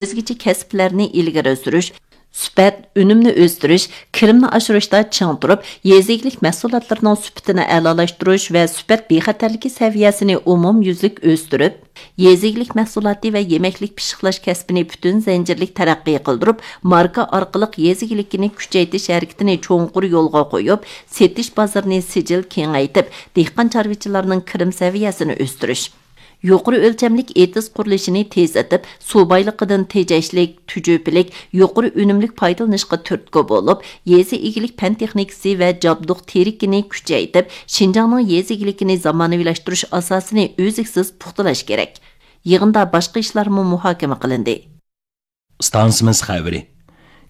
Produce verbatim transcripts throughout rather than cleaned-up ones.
ئۆزگىچە كەسىپلەرنى ئىلگىرى سۈرۈش، سۈپەت، ئۈنۈمنى ئۆستۈرۈش، كىرىمنى ئاشۇرۇشتا چىڭ تۇرۇپ، يېزا ئىگىلىك مەھسۇلاتلىرىنىڭ سۈپىتىنى ئەلالاشتۇرۇش ۋە سۈپەت بىخەتەرلىكى سەۋىيەسىنى ئومۇميۈزلۈك ئۆستۈرۈپ، يېزا ئىگىلىك مەھسۇلاتى ۋە يېمەكلىك پىششىقلاش كەسپىنى پۈتۈن زەنجىرلىك تەرەققىي قىلدۇرۇپ، ماركا ئارقىلىق يېزا ئىگىلىكىنى كۈچەيتىش ھەرىكىتىنى چوڭقۇر يولغا قويۇپ، سېتىش بازىرىنى سىجىل كېڭەيتىپ، دېھقان چارۋىچىلارنىڭ كىرىم سەۋىيەسىنى ئۆستۈرۈش. يۇقىرى ئۆلچەملىك ئېتىز قۇرۇلۇشىنى تېزلىتىپ، سۇ بايلىقىدىن تېجەشلىك، تۈجۈپىلىك، يۇقىرى ئۈنۈملۈك پايدىلىنىشقا تۈرتكە بولۇپ، يېزا ئىگىلىك پەن تېخنىكىسى ۋە جابدۇق تېرىكىنى كۈچەيتىپ، شىنجاڭنىڭ يېزا ئىگىلىكىنى زامانىۋىلاشتۇرۇش ئاساسىنى ئۈزلۈكسىز پۇختىلاش كېرەك. يىغىندا باشقا ئىشلارمۇ مۇھاكىمە قىلىندى. ئىستانسىمىز خەۋىرى.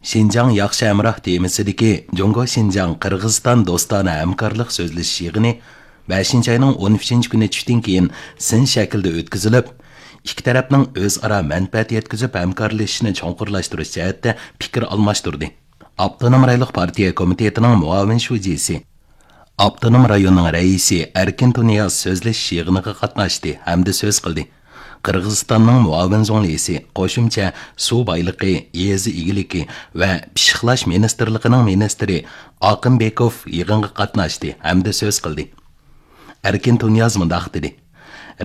شىنجاڭ ياخشى ھەمراھ تېمىسىدىكى جۇڭگو شىنجاڭ قىرغىزىستان دوستانە ھەمكارلىق سۆزلىشىش يىغىنى بەشىنچى ئاينىڭ ئون ئۈچىنچى كۈنى چۈشتىن كېيىن سىن شەكلىدە ئۆتكۈزۈلۈپ، ئىككى تەرەپنىڭ ئۆزئارا مەنپەئەت يەتكۈزۈپ ھەمكارلىشىشنى چوڭقۇرلاشتۇرۇش جەھەتتە پىكىر ئالماشتۇردى. ئاپتونوم رايونلۇق پارتىيە كومىتېتىنىڭ مۇئاۋىن شۇجىسى، ئاپتونوم رايوننىڭ رەئىسى ئەركىن تۇنىياز سۆزلىشىش يىغىنىغا قاتناشتى ھەمدە سۆز قىلدى. قىرغىزىستاننىڭ مۇئاۋىن زۇڭلىسى، قوشۇمچە سۇ بايلىقى، يېزا ئىگىلىكى ۋە پىششىقلاش مىنىستىرلىقىنىڭ مىنىستىرى ئاقىنبېكوف يىغىنغا قاتناشتى ھەمدە سۆز قىلدى. ئەركىن تۇنىياز مۇنداق دېدى: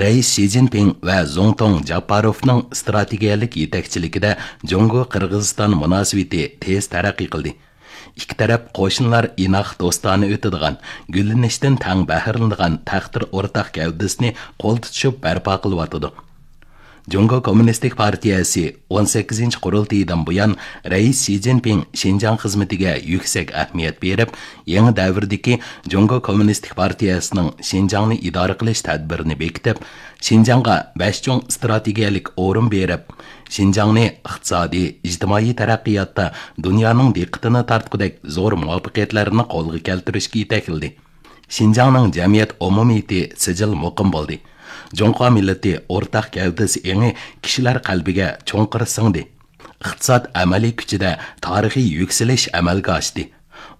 رەئىس شى جىنپىڭ ۋە زۇڭتۇڭ جاپپاروفنىڭ ئىستراتېگىيەلىك يېتەكچىلىكىدە جۇڭگو قىرغىزىستان مۇناسىۋىتى تېز تەرەققىي قىلدى. ئىككى تەرەپ قوشنىلار ئىناق، دوستانە ئۆتىدىغان، گۈللىنىشتىن تەڭ بەھرىلىنىدىغان تەقدىر ئورتاق گەۋدىسىنى قول تۇتۇشۇپ بەرپا قىلىۋاتىدۇ. جۇڭگو كوممۇنىستىك پارتىيەسى ئون سەككىزىنچى قۇرۇلتىيىدىن بۇيان، رەئىس شى جىنپىڭ شىنجاڭ خىزمىتىگە يۈكسەك ئەھمىيەت بېرىپ، يېڭى دەۋردىكى جۇڭگو كوممۇنىستىك پارتىيەسىنىڭ شىنجاڭنى ئىدارە قىلىش تەدبىرىنى بېكىتىپ، شىنجاڭغا بەش چوڭ ئىستراتېگىيەلىك ئورۇن بېرىپ، شىنجاڭنى ئىقتىسادىي، ئىجتىمائىي تەرەققىياتتا دۇنيانىڭ دىققىتىنى تارتقۇدەك زور مۇۋەپپەقىيەتلەرنى قولغا كەلتۈرۈشكە يېتەكلىدى. شىنجاڭنىڭ جەمئىيەت ئومۇمىيىتى سىجىل مۇقىم بولدى. جۇڭخۇا مىللىتى ئورتاق گەۋدىسى ئېڭى كىشىلەر قەلبىگە چوڭقۇر سىڭدى. ئىقتىساد ئەمەلىي كۈچىدە تارىخىي يۈكسىلىش ئەمەلگە ئاشتى.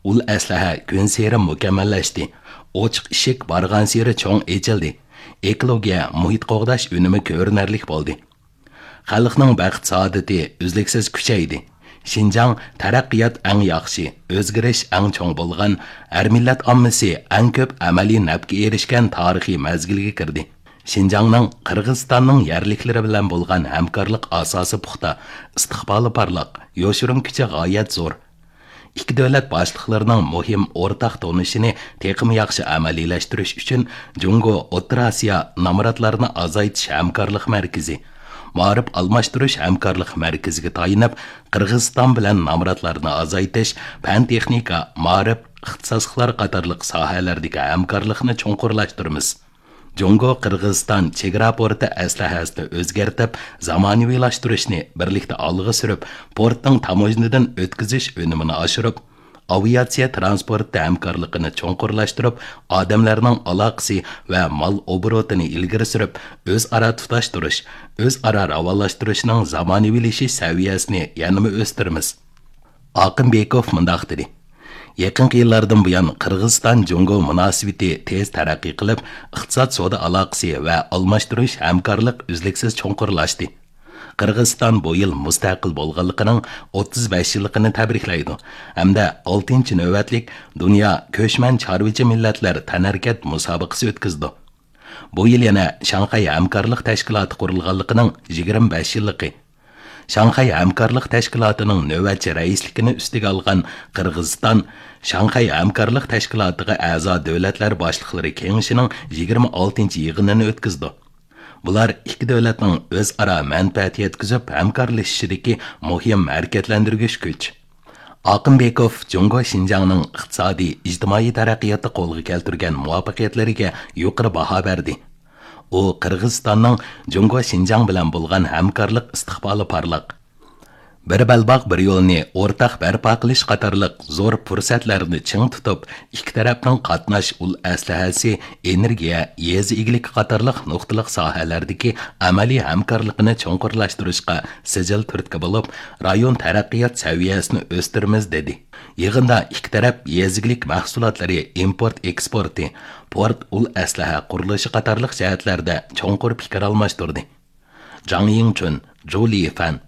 ئۇل ئەسلىھە كۈنسېرى مۇكەممەللەشتى. ئوچۇق ئىشىك بارغانسېرى چوڭ ئېچىلدى. ئېكولوگىيە، مۇھىت قوغداش ئۈنۈمى كۆرۈنەرلىك بولدى. خەلقنىڭ بەخت-سائادىتى ئۈزلۈكسىز كۈچەيدى. شىنجاڭ تەرەققىيات ئەڭ ياخشى، ئۆزگىرىش ئەڭ چوڭ بولغان، ھەر مىللەت ئاممىسى ئەڭ كۆپ ئەمەلىي نەپكە ئېرىشكەن تارىخىي مەزگىلگە كىردى. شىنجاڭنىڭ قىرغىزىستاننىڭ يەرلىكلىرى بىلەن بولغان ھەمكارلىق ئاساسى پۇختا، ئىستىقبالى پارلاق، يوشۇرۇن كۈچى غايەت زور. ئىككى دۆلەت باشلىقلىرىنىڭ مۇھىم ئورتاق تونۇشىنى تېخىمۇ ياخشى ئەمەلىيلەشتۈرۈش ئۈچۈن، جۇڭگو ئوتتۇرا ئاسىيا نامراتلارنى ئازايتىش ھەمكارلىق مەركىزى، مائارىپ ئالماشتۇرۇش ھەمكارلىق مەركىزىگە تايىنىپ، قىرغىزىستان بىلەن نامراتلارنى ئازايتىش، پەن-تېخنىكا، مائارىپ، ئىختىساسلىقلار قاتارلىق ساھەلەردىكى ھەمكارلىقنى چوڭقۇرلاشتۇرىمىز. جۇڭگو قىرغىزىستان چېگرا پورتى ئەسلىھەسىنى ئۆزگەرتىپ، زامانىۋىلاشتۇرۇشنى بىرلىكتە ئالغا سۈرۈپ، پورتنىڭ تاموژنىدىن ئۆتكۈزۈش ئۈنۈمىنى ئاشۇرۇپ، ئاۋىئاتسىيە تىرانسپورتى ھەمكارلىقىنى چوڭقۇرلاشتۇرۇپ، ئادەملەرنىڭ ئالاقىسى ۋە مال ئوبوروتىنى ئىلگىرى سۈرۈپ، ئۆزئارا تۇتاشتۇرۇش، ئۆزئارا راۋانلاشتۇرۇشنىڭ زامانىۋىلىشىش سەۋىيەسىنى يەنىمۇ ئۆستۈرىمىز. ئاقىنبېكوف مۇنداق دېدى: يېقىنقى يىللاردىن بۇيان، قىرغىزىستان جۇڭگو مۇناسىۋىتى تېز تەرەققىي قىلىپ، ئىقتىساد، سودا ئالاقىسى ۋە ئالماشتۇرۇش ھەمكارلىق ئۈزلۈكسىز چوڭقۇرلاشتى. قىرغىزىستان بۇ يىل مۇستەقىل بولغانلىقىنىڭ ئوتتۇز بەش يىللىقىنى تەبرىكلەيدۇ ھەمدە ئالتىنچى نۆۋەتلىك دۇنيا كۆچمەن چارۋىچى مىللەتلەر تەنھەرىكەت مۇسابىقىسى ئۆتكۈزىدۇ. بۇ يىل يەنە شاڭخەي ھەمكارلىق تەشكىلاتى قۇرۇلغانلىقىنىڭ يىگىرمە بەش يىللىقى. شاڭخەي ھەمكارلىق تەشكىلاتىنىڭ نۆۋەتچى رەئىسلىكىنى ئۈستىگە ئالغان قىرغىزىستان شاڭخەي ھەمكارلىق تەشكىلاتىغا ئەزا دۆلەتلەر باشلىقلىرى كېڭىشىنىڭ يىگىرمە ئالتىنچى يىغىنىنى ئۆتكۈزىدۇ. بۇلار ئىككى دۆلەتنىڭ ئۆزئارا مەنپەئەت يەتكۈزۈپ ھەمكارلىشىشىدىكى مۇھىم ھەرىكەتلەندۈرگۈچ كۈچ. ئاقىنبېكوف جۇڭگو شىنجاڭنىڭ ئىقتىسادىي، ئىجتىمائىي تەرەققىياتتا قولغا كەلتۈرگەن مۇۋەپپەقىيەتلىرىگە يۇقىرى باھا بەردى. ئۇ قىرغىزىستاننىڭ جۇڭگو شىنجاڭ بىلەن بولغان ھەمكارلىق ئىستىقبالى پارلاق، بىر بەلباغ، بىر يولنى ئورتاق بەرپا قىلىش قاتارلىق زور پۇرسەتلەرنى چىڭ تۇتۇپ، ئىككى تەرەپنىڭ قاتناش ئۇل ئەسلىھەسى، ئېنېرگىيە، يېزا ئىگىلىكى قاتارلىق نۇقتىلىق ساھەلەردىكى ئەمەلىي ھەمكارلىقىنى چوڭقۇرلاشتۇرۇشقا سىجىل تۈرتكە بولۇپ، رايون تەرەققىيات سەۋىيەسىنى ئۆستۈرىمىز، دېدى. يىغىندا ئىككى تەرەپ يېزا ئىگىلىك مەھسۇلاتلىرى ئىمپورت ئېكسپورتى، پورت ئۇل ئەسلىھە قۇرۇلۇشى قاتارلىق جەھەتلەردە چوڭقۇر پىكىر ئالماشتۇردى. جاڭ يىڭچۈن، جۇ لىفەن،